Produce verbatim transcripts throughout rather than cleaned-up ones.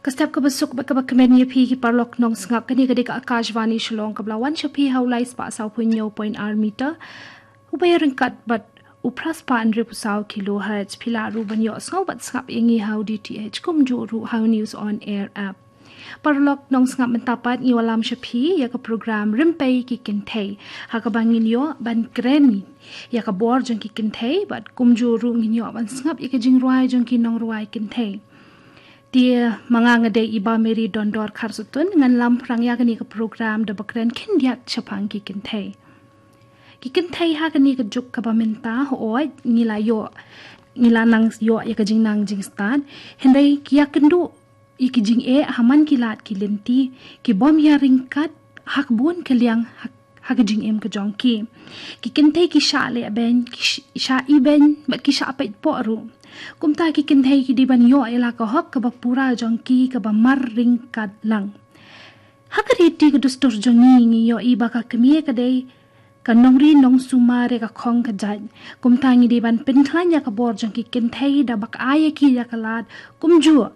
Ka step kaba suk bad kaba kmen ïa phi ki paralok nongsngap, kane ka dei ka Akashvani Shillong kaba la wan sha phi ha u lai spah saw phew hynñiew point ar meter. U ba ïaryngkat bad u phra spah hynriew phew saw kilohertz. Phi lah ruh ban ïohsngew bad sngap ïa ngi ha u D T H kumjuh ruh ha u News on Air app. Paralok nongsngap, mynta pat ngi wallam sha phi ïa ka program Rympei ki Kynthei, ha kaba ngin ïoh ban kren ïa ka bor jong ki kynthei bad kumjuh ruh ngin ïoh ban sngap ïa ka jingrwai jong ki nongrwai kynthei. Te ma nga, nga dei i Bah Mary Dondor Kharsutun, ngan lam phrang ïa kane ka program da ba kren khyndiat shaphang ki kynthei. Ki kynthei ha kane ka juk kaba mynta, hooid, ngi la ïoh, ngi la nang ïoh ïa ka jingnang jingstad, hynrei ki ïakynduh ïa ki jingeh ha man ki lad ki lynti, ki bym ïaryngkat ha ka bun ka liang ha, ha ka jingim ka jong ki. Ki kynthei ki shah leh beiñ, ki sh-, shah ibeiñ bad ki shah peit poh ruh. Kumta ki kynthei ki dei ban ïoh ïa la ka hok kaba pura jong ki kaba marryngkat lang. Ha ka riti ka dustur jong ngi, ngi ïohi ba ka kmie ka dei ka nongri nongsumar ïa ka khong ka jait. Kumta ngi dei ban pynkhlaiñ ïa ka bor jong ki kynthei da ba ai ïa ki ïa ka lad kumjuh.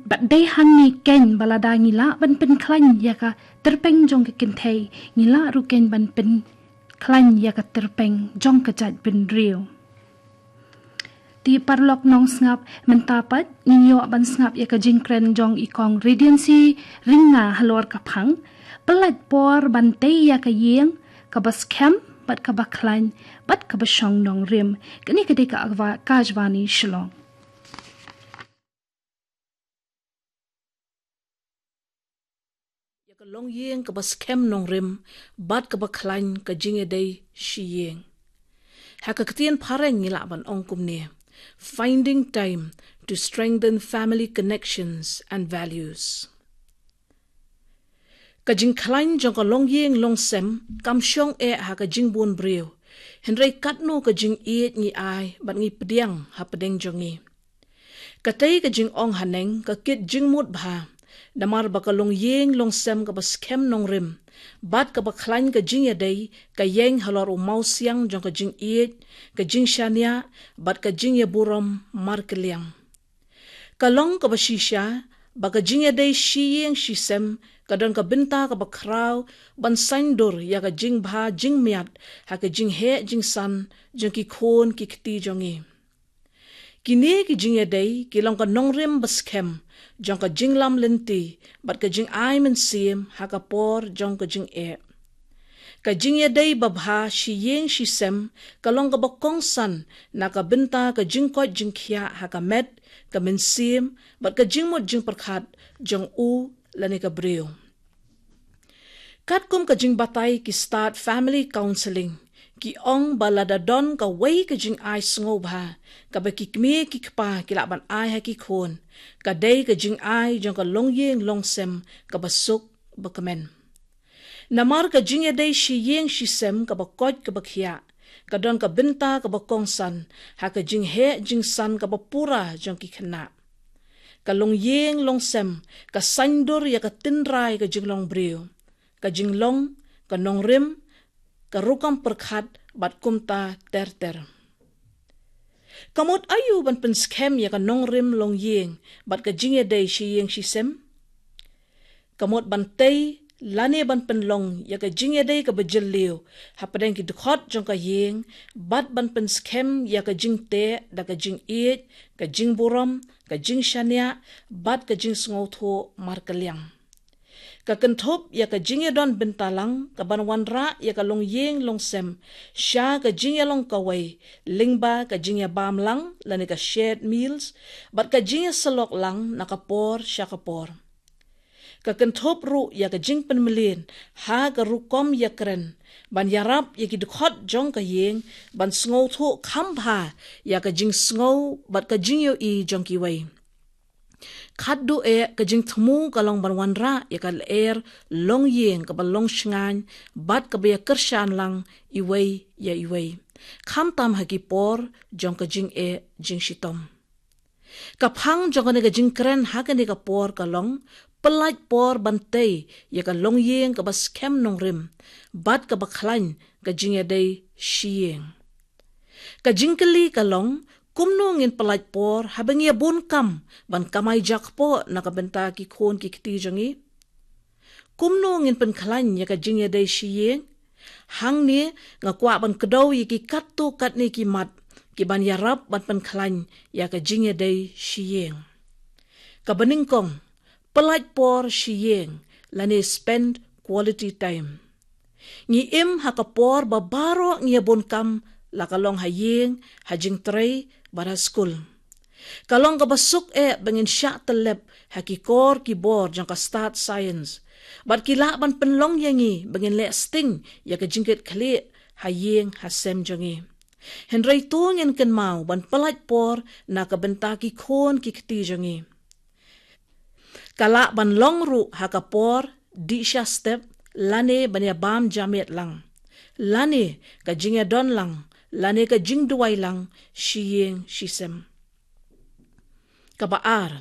Bad dei hangne keiñ ba lada ngi lah ban pynkhlaiñ ïa ka tyrpeng jong ki kynthei, ngi lah ruh keiñ ban pynkhlaiñ ïa ka tyrpeng jong ka jaitbynriew. Te paralok nongsngap, mynta pat ngin ïoh ban sngap ïa ka jingkren jong i Kong Radiancy Rynga halor ka phang Pyllait por ban tei ïa ka ïing kaba skhem bad kaba khlaiñ bad kaba shong nongrim. Kane ka dei ka Akashvani Shillong. Ïa ka longïing kaba skhem nongrim bad kaba khlaiñ ka jingïadei shi ïing. Ha ka ktien phareng ngi lah ban ong kumne: Finding time to strengthen family connections and values. Ka jingkhlaiñ jong ka longïing longsem kam shong eh ha ka jingbun briew. Hynrei katno ka jingïeit ngi ai bad ngi pdiang hapdeng jong ngi. Katei ka jingong haneng ka kit jingmut bha, namar ba ka longïing longsem kaba skhem nongrim bad kaba khlaiñ ka jingïadei ka ïeng halor u mawsiang jong ka jingïeit, ka jingshaniah bad ka jingïaburom markylliang. Ka long kaba shisha ba ka jingïadei shi ïing shi sem ka don ka bynta kaba khraw ban saiñdur ïa ka jingbha jingmiat ha ka jingheh jingsan jong ki khun ki kti jong ngi. Kine ki jingïadei ki long ka nongrim ba skhem jong ka jinglam lynti bad ka jingai mynsiem ha ka por jong ka jingeh. Ka jingïadei babha shi ïing shi sem ka long kaba kongsan na ka bynta ka jingkoit jingkhiah ha ka met, ka mynsiem bad ka jingmut jingpyrkhat jong u lane ka briew. Katkum ka jingbatai ki stad family counselling, ki ong ba lada don kawei ka jingai sngewbha kaba ki kmie ki kpa ki lah ban ai ha ki khun, ka dei ka jingai jong ka longïing longsem kaba suk ba kmen. Namar ka jingïadei shi ïing shi sem kaba koit kaba khiah ka don ka bynta kaba kongsan ha ka jingheh jingsan kaba pura jong ki khynnah. Ka longïing longsem ka saiñdur ïa ka tynrai ka jinglong briew, ka jinglong, ka nongrim, ka rukom pyrkhat bad kumta ter ter. Ka mut aïu ban pynskhem ïa ka nongrim longïing bad ka jingïadei shi ïing shi sem? Ka mut ban tei lane ban pynlong ïa ka jingïadei kaba jylliew hapdeng ki dkhot jong ka ïing bad ban pynskhem ïa ka jingteh da ka jingïeit, ka jingburom, ka jingshaniah bad ka jingsngewthuh markylliang. Ka kynthup ïa ka jingïadon bynta lang kaban wanrah ïa ka longïing longsem sha ka jingïalong kawei, lyngba ka jingïabam lang lane ka shared meals bad ka jingïasyllok lang na ka por sha ka por. Ka kynthup ruh ïa ka jingpynmlien ha ka rukom ïakren ban ïarap ïa ki dkhot jong ka ïing ban sngewthuh kham bha ïa ka jingsngew bad ka jingïohi jong kiwei. Khatduh eh ka jingthmu ka long ban wanrah ïa ka lyer longïing kaba long shngaiñ bad kaba ïakyrshan lang iwei ïa iwei, khamtam ha ki por jong ka jingeh jingshitom. Ka phang jong kane ka jingkren ha kane ka por ka long pyllait por ban tei ïa ka longïing kaba skhem nongrim bad kaba khlaiñ ka jingïadei shi ïing. Ka jingkylli ka long, Kumno ngin pyllait por haba ngi ïa bun kam ban kamai jakpoh na ka bynta ki khun ki kti jong ngi? Kumno ngin pynkhlaiñ ïa ka jingïadei shi ïing? Hangne nga kwah ban kdew ïa ki katto katne ki mat ki ban ïarap ban pynkhlaiñ ïa ka jingïadei shi ïing. Kaba nyngkong, pyllait por shi ïing lane spend quality time. Ngi im ha ka por ba baroh ngi ïa bun kam, la ka long ha ïing, ha jingtrei bad ha skul. Ka long kaba suk eh ba ngin shah tyllep ha ki kor ki bor jong ka stad science, bad ki lah ban pynlong ïa ngi ba ngin leh sting ïa ka jingkitkhlieh ha ïing ha sem jong ngi. Hynrei to ngin kynmaw ban pyllait por na ka bynta ki khun ki kti jong ngi. Ka lah ban long ruh ha ka por dih sha step, lane ban ïa bam jamet lang, lane ka jingïadon lang, lane ka jingduwai lang shi ïing shi sem. Kaba ar,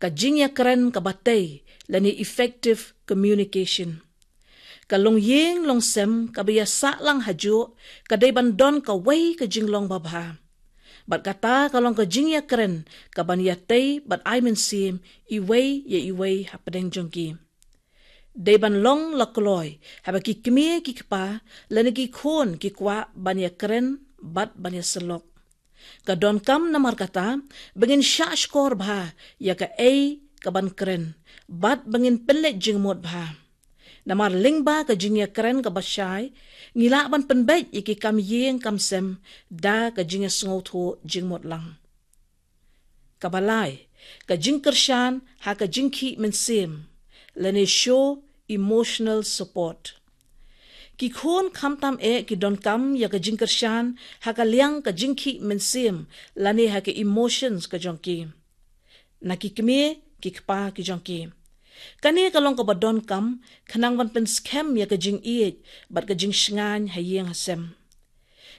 ka jingïakren kaba tei lane effective communication. Ka long ïing long sem kaba ïa sah lang ha juh, ka dei ban don kawei ka jinglong babha. Bad kata ka long ka jingïakren kaban ïa tei bad ai mynsiem iwei ïa iwei hapdeng jong ki. Dei ban long la kloi haba ki kmie ki kpa lane ki khun ki kwah ban ïakren bad ban ïasyllok. Ka donkam namar kata ba ngin shah shkor bha ïa kaei kaban kren, bad ba ngin pynleit jingmut bha. Namar lyngba ka jingïakren kaba shai, ngi lah ban pynbeit ïa ki kam ïing kam sem da ka jingïasngewthuh jingmut lang. Kaba lai, ka jingkyrshan ha ka jingkhih mynsiem lane show emotional support. Ki khun khamtam eh ki donkam ïa ka jingkyrshan ha ka liang ka jingkhih mynsiem lane ha ka emotions ka jong ki, na ki kmie ki kpa ki jong ki. Kane ka long kaba donkam khnang ban pynskhem ïa ka jingïeit bad ka jingshngaiñ ha ïing ha sem.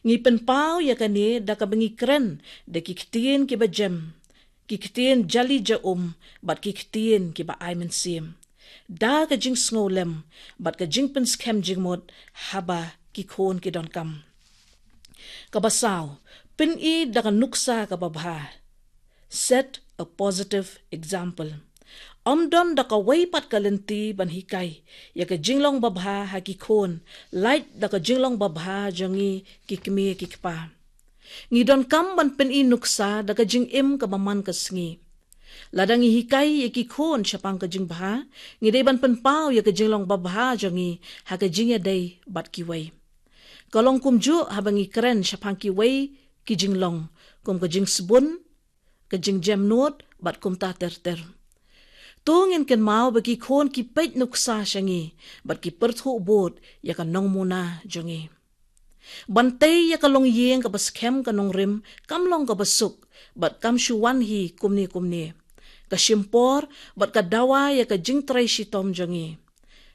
Ngi pynpaw ïa kane da kaba ngi kren da ki ktien kiba jem, ki ktien jali ja um, bad ki ktien kiba ai mynsiem, da ka jingsngewlem bad ka jingpynskhem jingmut haba ki khun ki donkam. Kaba saw, pyni da ka nuksa kaba bha. Set a positive example. Ym don da kawei pat ka lynti ban hikai ïa ka jinglong babha ha ki khun, lait da ka jinglong babha jong ngi ki kmie ki kpa. Ngi donkam ban pyni nuksa da ka jingim kaba man ka sngi. Lada ngi hikai ïa ki khun shaphang ka jingbha, ngi dei ban pynpaw ïa ka jinglong babha jong ngi ha ka jingïadei bad kiwei. Ka long kumjuh haba ngi kren shaphang kiwei ki jinglong, kum ka jingsbun, ka jingjemnud bad kumta ter ter. To ngin kynmaw ba ki khun ki peit nuksa sha ngi bad ki pyrthuh bud ïa ka nongmuna jong ngi. Ban tei ïa ka longïing kaba skhem ka nongrim kam long kaba suk, bad kam shu wan hi kumne kumne. Ka shim por bad ka dawa ïa ka jingtrei shitom jong ngi.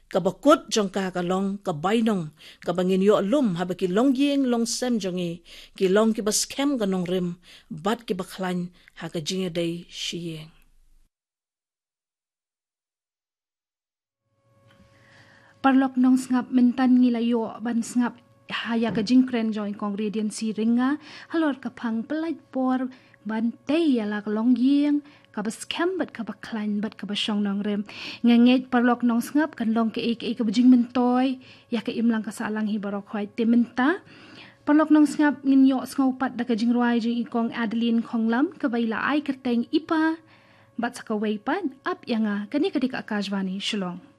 Kaba kut jong ka ka long ka bainong kaba ngin ïoh lum haba ki longïing longsem jong ngi ki long kiba skhem ka nongrim bad kiba khlaiñ ha ka jingïadei shi ïing. Paralok nongsngap, mynta ngi la ïoh ban sngap ha ïa ka jingkren jong i Kong Radiancy Rynga halor ka phang pyllait por ban tei ïa la ka longïing kaba skhem bad kaba khlaiñ bad kaba shong nongrim. Nga ngeit paralok nongsngap kan long kaei kaei kaba jingmyntoi ïa ka imlang ka sahlang hi baroh khoit. Te mynta paralok nongsngap ngin ïohsngew pat da ka jingrwai jong i Kong Adeline Khonglam kaba i la ai kyrteng I Pa bad sa kawei pat Ap Ïa Nga. Kane ka dei ka Akashvani Shillong.